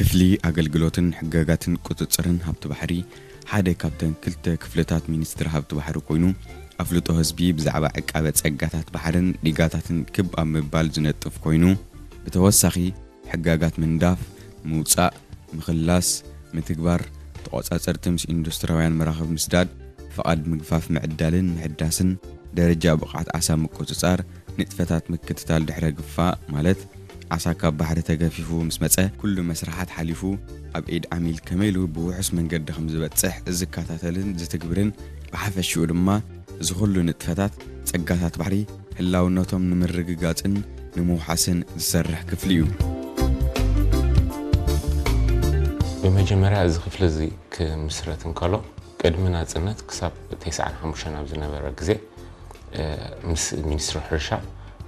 ክፍሊ ኣገልግሎትን ሕጋጋትን ቁፅፅርን ሃብቲ ባሕሪ ሓደ ካብተን ክልተ ክፍልታት ሚኒስትሪ ሃብቲ ባሕሪ ኮይኑ፣ ኣፍልጦ ህዝቢ ብዛዕባ ዕቃበ ፀጋታት ባሕርን ዲጋታትን ክብ ኣብ ምባል ዝነጥፍ ኮይኑ፣ ብተወሳኺ ሕጋጋት ምንዳፍ፣ ምውፃእ፣ ምኽላስ፣ ምትግባር፣ ተቆፃፀርቲ ምስ ኢንዱስትሪያውያን መራኽብ ምስዳድ፣ ፍቓድ ምግፋፍ ምዕዳልን ምሕዳስን፣ ደረጃ ብቕዓት ዓሳ ምቁፅፃር፣ ንጥፈታት ምክትታል ድሕረ ግፋ ማለት ዓሳ ካብ ባሕሪ ተገፊፉ ምስ መፀ ኩሉ መስርሓት ሓሊፉ ኣብ ኢድ ዓሚል ከመይ ኢሉ ብውሑስ መንገዲ ከም ዝበፅሕ ዝከታተልን ዝትግብርን፣ ብሓፈሽኡ ድማ እዚ ኩሉ ንጥፈታት ፀጋታት ባሕሪ ህላውነቶም ንምርግጋፅን ንምውሓስን ዝሰርሕ ክፍሊ እዩ። ብመጀመርያ እዚ ክፍሊ እዚ ክምስረት እንከሎ ቅድሚ ናፅነት ክሳብ ተስዓን ሓሙሽተን ኣብ ዝነበረ ግዜ ምስ ሚኒስትሪ ሕርሻ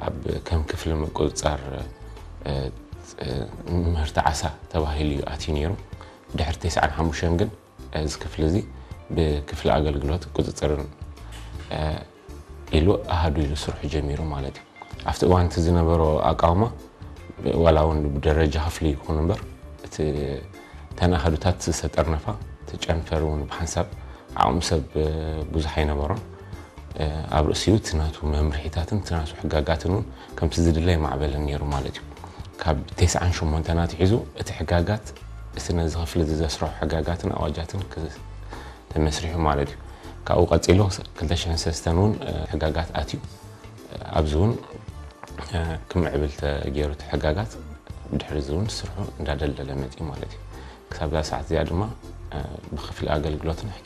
ኣብ ከም ክፍሊ ምቁፅፃር ምህርቲ ዓሳ ተባሂሉ እዩ ኣትዩ ነይሩ። ድሕሪ ተስዓን ሓሙሽተን ግን እዚ ክፍሊ እዚ ብክፍሊ ኣገልግሎት ቁፅፅርን ኢሉ ኣሃዱ ኢሉ ስርሑ ጀሚሩ ማለት እዩ። ኣብቲ እዋን እቲ ዝነበሮ ኣቃውማ ዋላ እውን ብደረጃ ክፍሊ ይኹን እምበር እቲ እተን ኣሃዱታት ዝተጠርነፋ እቲ ጨንፈር እውን ብሓንሳብ ዓቕሚ ሰብ ብዙሕ ኣይነበሮን። ኣብ ርእሲኡ እቲ ናቱ መምርሒታትን እቲ ናቱ ሕጋጋትን እውን ከምቲ ዝድለ ኣይማዕበለን ነይሩ ማለት እዩ። ካብ ተስዓን ሸሞንተን ኣትሒዙ እቲ ሕጋጋት እቲ ነዚ ክፍሊ እዚ ዘስርሖ ሕጋጋትን ኣዋጃትን ተመስሪሑ ማለት እዩ። ካብኡ ቀፂሉ ክልተ ሽሕን ሰለስተን እውን ሕጋጋት ኣትዩ ኣብዚ እውን ክምዕብል ተገይሩ እቲ ሕጋጋት ብድሕሪ እዚ እውን ስርሑ እንዳደልደለ መፅዩ ማለት እዩ። ክሳብ እዛ ሰዓት እዚኣ ድማ ብክፍሊ ኣገልግሎትን